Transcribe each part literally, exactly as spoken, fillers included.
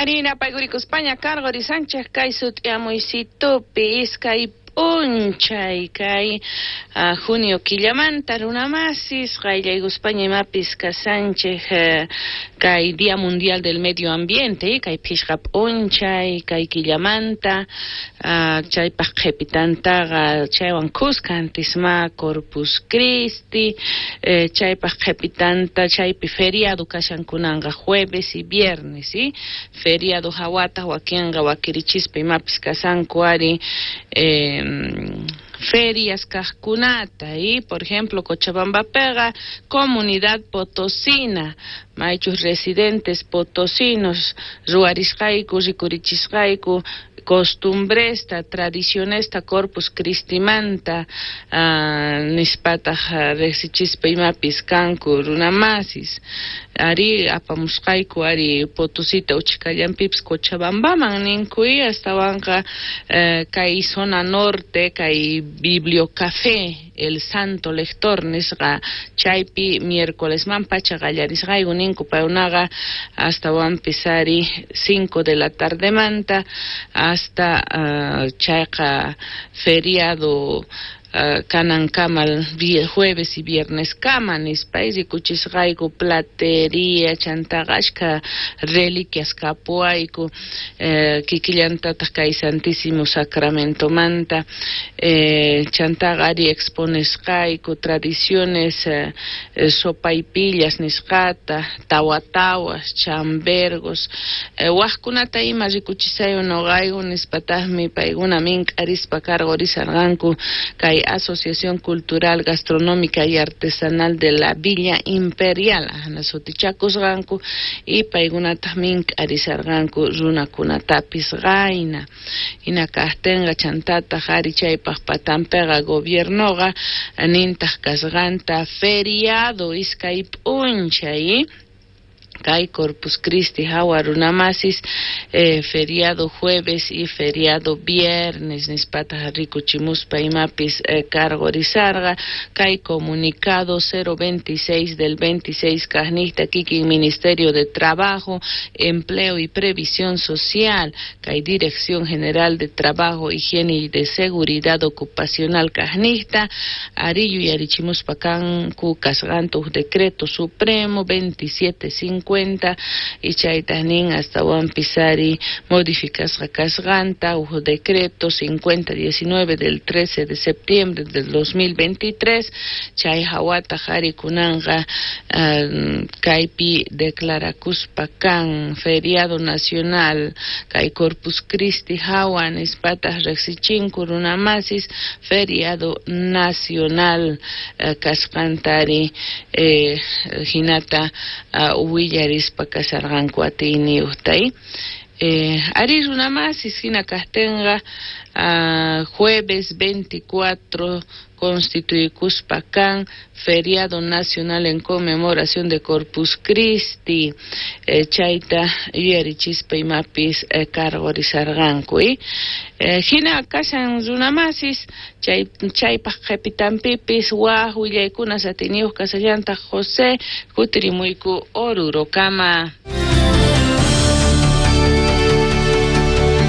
Arina paygurikuspaña cargorisanchej kay sut'iamuysitupi iskay p'unchay kay uh, junio killamanta runamasis qayllaykuspaña imapis kasanchej uh, kay Día Mundial del Medio Ambiente kay phishqa p'unchay kay killamanta uh, chaypaq qhipitantaqa chaywan kuska antisma Corpus Christi eh, chaypaq qhipitanta chaypi feriado kashankunanqa jueves y viernes ¿sí? Feriado hawata wakinqa wakirichispa imapis kasanku ari eh, ferias kajkunata y por ejemplo Cochabamba pega comunidad potosina maychus residentes potosinos ruwarisqayku rikurichisqayku costumbresta tradicionesta Corpus Christimanta uh, nispataq riqsichispa imapis kanku runamasis ari apamusqayku ari Potosita uchkallanpipis Cochabambaman ninku y astawanqa uh, kay zona norte kay Bibliocafé el Santo Lector nisqa chaypi miércoles man pacha qallarisqayku ninku paykunaqa astawanpis ari cinco de la tardemanta hasta uh, chayqa feriado Uh, kanankama jueves y viernes kama nispa rikuchisqayku platería chantaqa ashka reliquias kapuwayku eh, kikillantataq kay Santísimo Sacramentomanta eh, chantaqa ari exponesqayku tradiciones eh, sopaipillas nisqata tawatawas chambergos eh, wajkunata ima rikuchisayu noqayku nispataqmi paykuna mink'arispa cargorisarqanku kay Asociación Cultural, Gastronómica y Artesanal de la Villa Imperial ahna sutichakusqanku y paykunataq mink'arisarqanku runakunatapis qayna hina kaqtinqa chantataq ari chaypaq patanpiqa gobiernoqa nintaq kasqanta feriado iskay p'unchay kay Corpus Christi hawa runamasis eh, feriado jueves y feriado viernes nispataq rikuchimuspa imapis eh, cargorizarqa kay comunicado cero veintiséis del veintiséis kaqniqta kikin Ministerio de Trabajo, Empleo y Previsión Social kay Dirección General de Trabajo, Higiene y de Seguridad Ocupacional kaqniqta ari yuyarichimuspa kanku kasqanta huk decreto supremo veintisiete cincuenta y chaytaq nin astawanpis ari modificasqa kasqanta huk decreto cincuenta diecinueve del trece de septiembre del dos mil veintitrés chay hawataq ari kunanqa uh, kaypi declarakuspa kan feriado nacional kay Corpus Christi hawa nispataq riqsichinku runamasis feriado nacional uh, kasqantari eh, hinata uh, willarispa kasarqanku atiyniyuqta eh, ari runamasis hina kaqtinqa uh, jueves veinticuatro constituykuspa kan feriado nacional en conmemoración de Corpus Christi eh, chayta yuyarichispa imapis eh, cargorizarqanku eh, hina kashan runamasis chay chaypaq qhipitanpipis waj willaykuna atiyniyuq kasallantaq José kutirimuyku Orurokama.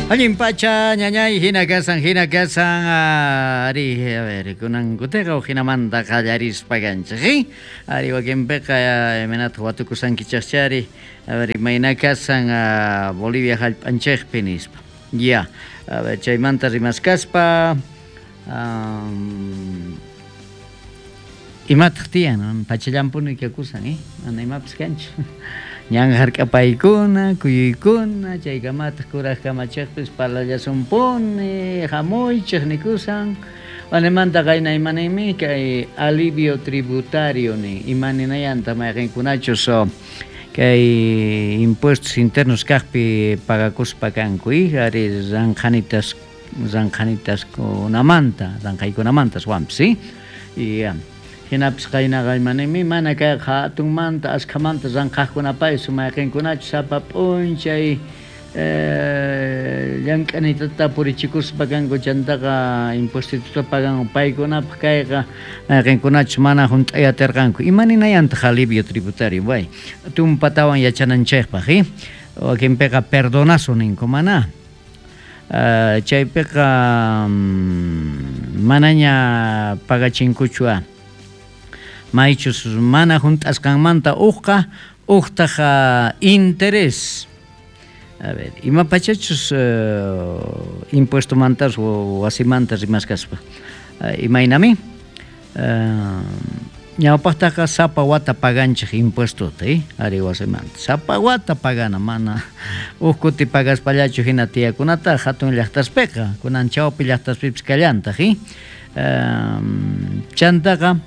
Allin pacha, ñañay, hina kasan, hina kasan, ari, a ver, kunan kuteqa hinamanta qallarispa kanchik, ¿sí? Ari wakinpiqa imaynataq watukusankichaqchari, a ver, imayna kasan Bolivia hallp'anchikpi nispa. Ya, a ver, chaymanta rimaskaspa, um, imataq tiyan, pachallampuni kakusan, eh? Mana imapis kanchu. Ñan hark'apaykuna, kuyuykuna, chaykamataq kuraq kamachiqpis parlallasumpuni, hamuychik nikusan. Wanemanta qayna imanaymi kay alivio tributario ni imaninayanta mayqinkunachus kay impuestos internos kaqpi pagakuspa kanku, ari ranqhanitas ranqhanitaskunamanta, ranqhaykunamanta aswanpis, ¿sí? Y hinapis qaynaqa imanaymi mana kay hatunmanta ashkhamanta ranqhaqkunapaysu mayqinkunachus sapa p'unchay eh, llank'anitata purichikuspa kanku chantaqa impuestituta pagan paykunapaq kayqa mayqinkunachus mana hunt'ay atirqanku. Imaninayantaq alivio tributario? Way, tumpatawan yachananchikpaq, ¿eh? Wakinpiqa perdonazo ninku mana. Uh, chaypiqa um, manaña pagachinkuchu a. Maychus mana hunt'asqanmanta uqqa uqtaq interés. A ver, ima pachachus uh, impuesto mantas wasimanta rimaskaspa. Uh, imaynami? Uh, ñawpaqtaqa sapa wata paganchik impuestota, eh? Ari wasimanta. Sapa wata pagana, mana uj kuti pagaspallachu hina tiyakunata hatun llaqtaspiqa, kunan chawpi llaqtaspipis kallantaq, eh? Um, chantaqa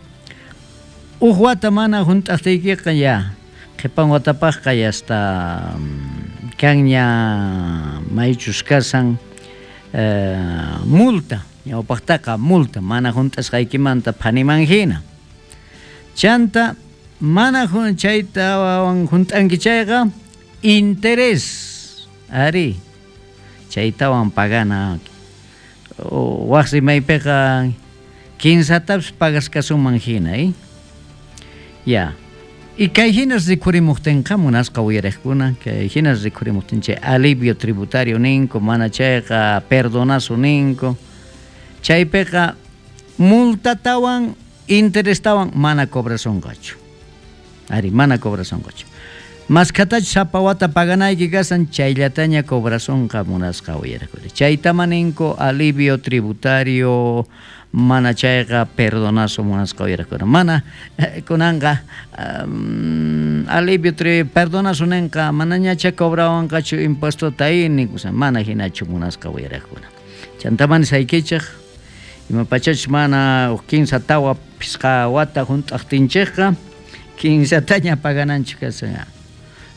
uj wata mana hunt'aqtiykiqa ya qhipan watapaqqa ya hasta kanña maychus kasan uh, multa, ñawpaqtaqa multa mana hunt'asqaykimanta phaniman hina. Chanta mana chaytawan hunt'anki chayqa interés ari chaytawan pagana waq rimaypiqa kinsatapis pagaskasuman hina, eh? Ya. Y kay hinas rikurimuqtinqa munasqa uyariqkuna, kay hinas rikurimuqtin chay alivio tributario ninku, mana chayqa perdonazo ninku, chaypiqa multatawan interestawan mana cobrasonqachu. Ari, mana cobrasonqachu. Maskatachu sapa wata paganayki kasan chayllataña cobrasonqa munasqa uyariqkuna. Chaytama ninku alivio tributario, mana chayqa perdonazo munasqa uyariqkuna. Mana kunanqa um, alivio tri perdonazo ninqa manañacha cobrawanqachu impuestota nikusan, mana hinachu munasqa uyariqkuna. Chantaman saykichik ima pachachus mana uj kinsa tawa pisqa wata hunt'aqtinchikqa kinsataña pagananchik kasan.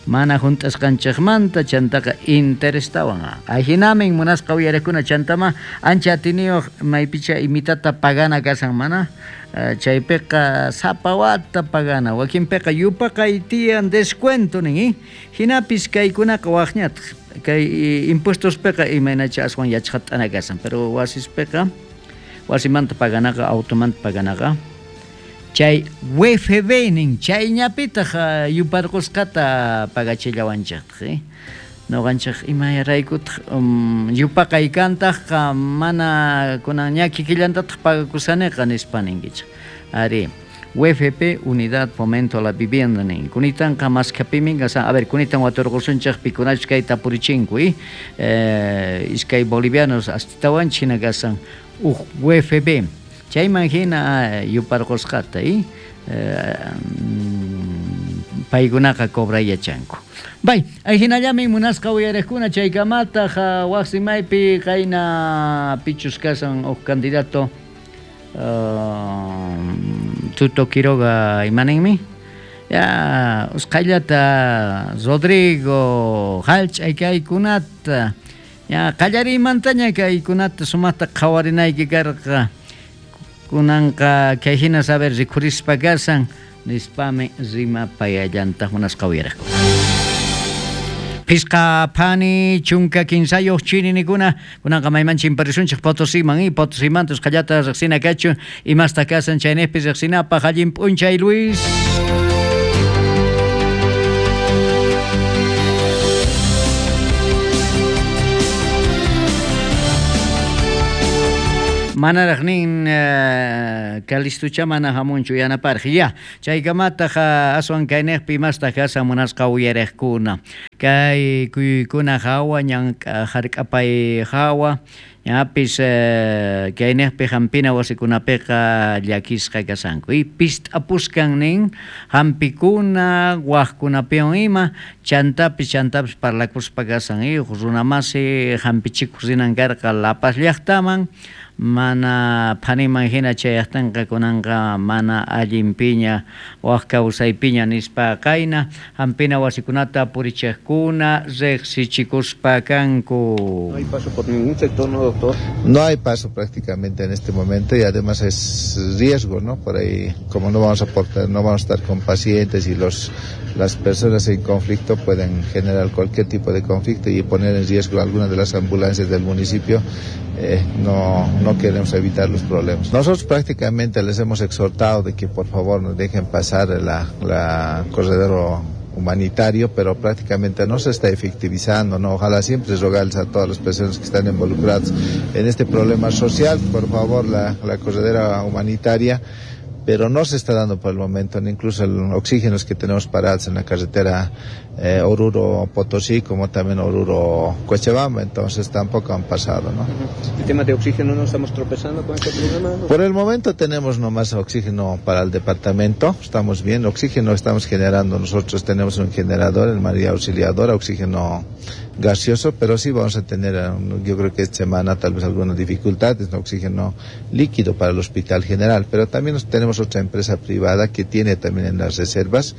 Mana hunt'asqanchikmanta chantaqa interestawan. Ajinamin munasqa uyariqkuna chantama ancha atiniyuq maypicha imitata pagana kasan mana chaypiqa sapa wata pagana wakinpiqa yupaqay tiyan descuento nin, eh? Hinapis kaykunaqa waqñataq kay impuestospiqa imaynacha aswan yachqat'ana kasan, pero wasispiqa wasimanta paganaqa automanta paganaqa chay U F B nin chayñapitaq yuparqusqata pagachillawanchiktaj, eh? Noqanchik imaraykutaq um, yupaqay kantaqqa mana kunan ña kikillantataq pagakusaniqa nispa ninkichik. Ari, U F P, Unidad Fomento a la Vivienda nin. Kunitanqa maskapimin kasan, a ver, kunitan waturqusunchik pikunachus kayta purichinku, eh? Eh, iskay bolivianos astitawanchik hina kasan uj U F B. Chayman hina yuparqusqata, eh? Paykunaqa cobrayachanku. Bay, ajinallamin munasqa uyariqkuna chaykamataq waq rimaypi qayna pichus kasan uj candidato uh, Tuto Quiroga imaninmi. Ya usqhayllata Rodrigo hallch'ay kaykunata ya qallariymantaña kaykunata sumaqta qhawarinayki karqa. Kunanqa kay hina saber rikhurispa kasan nispami rimapayallantaq munasqa uyariqkuna. Pisqa phani chunka kinsayuq chirinikuna kunanqa mayman chimparisunchik Potosiman y Potosimantas usqhallata riqsina kachu imasta kasan chaynejpi riqsinapaq allin p'unchay Luis. Manaraq nin uh, Calistucha mana hamunchu yanaparq ya chaykamataq uh, aswan kaynejpi imastaq kasan munasqa uyariqkuna kay kuykuna hawa ñan hark'apay hawa ñapis uh, kaynejpi hampina wasikunapiqa llakisqa kasanku y pist'apuskan nin hampikuna waqkunapiwan ima chantapis chantapis parlakuspa kasan y runamasi hampichikuq rinan karqa La Paz llaqtaman mana phaniman hina chayaqtinqa kunanqa mana allin piña waq kawsaypiña nispa qayna hampina wasikunata purichiqkuna riqsichikuspa kanku. No hay paso por ningún sector, ¿no, doctor? No hay paso prácticamente en este momento y además es riesgo, ¿no? Por ahí, como no vamos a portar, no vamos a estar con pacientes y los las personas en conflicto pueden generar cualquier tipo de conflicto y poner en riesgo alguna de las ambulancias del municipio. Eh, no, no queremos evitar los problemas. Nosotros prácticamente les hemos exhortado de que por favor nos dejen pasar la, la corredor humanitario, pero prácticamente no se está efectivizando, ¿no? Ojalá siempre rogarles a todas las personas que están involucradas en este problema social, por favor, la, la corredera humanitaria, pero no se está dando por el momento, incluso el oxígeno que tenemos parados en la carretera eh, Oruro-Potosí, como también Oruro-Cochabamba, entonces tampoco han pasado, ¿no? ¿El tema de oxígeno no estamos tropezando con este problema? Por el momento tenemos nomás oxígeno para el departamento, estamos bien, oxígeno estamos generando, nosotros tenemos un generador en María Auxiliadora, oxígeno gaseoso, pero sí vamos a tener, yo creo que esta semana tal vez algunas dificultades, ¿no? Oxígeno líquido para el Hospital General, pero también tenemos otra empresa privada que tiene también en las reservas.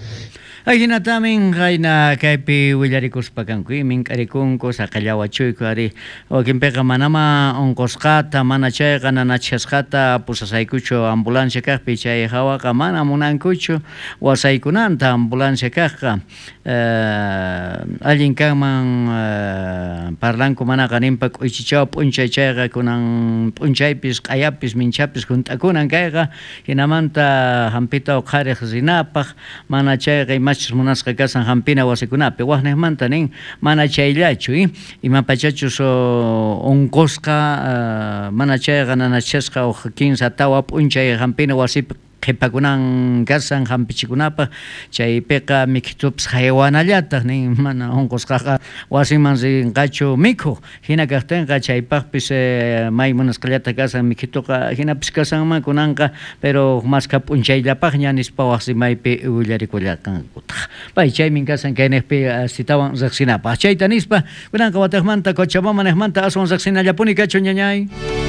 Ajina tamin qayna kaypi willarikuspa kanku mink'arikunku saqallawachuyku ari wakinpiqa manama unqusqata mana chayqa nanachasqata pusasaykuchu ambulancia kaqpi chay hawaqa mana munankuchu wasaykunanta ambulancia kaqqa eh, allin kanman eh, parlanku manaqa ninpa k'uychichaw p'unchay chayqa kunan p'unchaypis q'ayapis minchapis junt'akunan kayqa hinamanta hampita uqhariq rinapaq mana chayqa ima munasqa kasan hampina wasikunapi waqniqmanta nin mana chayllachu imapachachus unqusqa mana chayqa nanachasqa uq kinsa tawa p'unchay hampina wasipi qhipakunan kasan hampichikunapaq chaypiqa mikhitupis haywanallataq nin mana unqusqaqa wasiman rinqachu mikhuq hina kaqtinqa chaypaqpis eh, may munasqallata kasan mikhituqa hinapis kasanman kunanqa pero maskha p'unchayllapaqña nispa wasimaypi willarikullaqankutaq pay chaymin kasan kayniqpi asitawan riqsinapaq chayta nispa kunanqa wataqmanta Cochabamba niqmanta aswan riqsinallapuni kachun ñañay.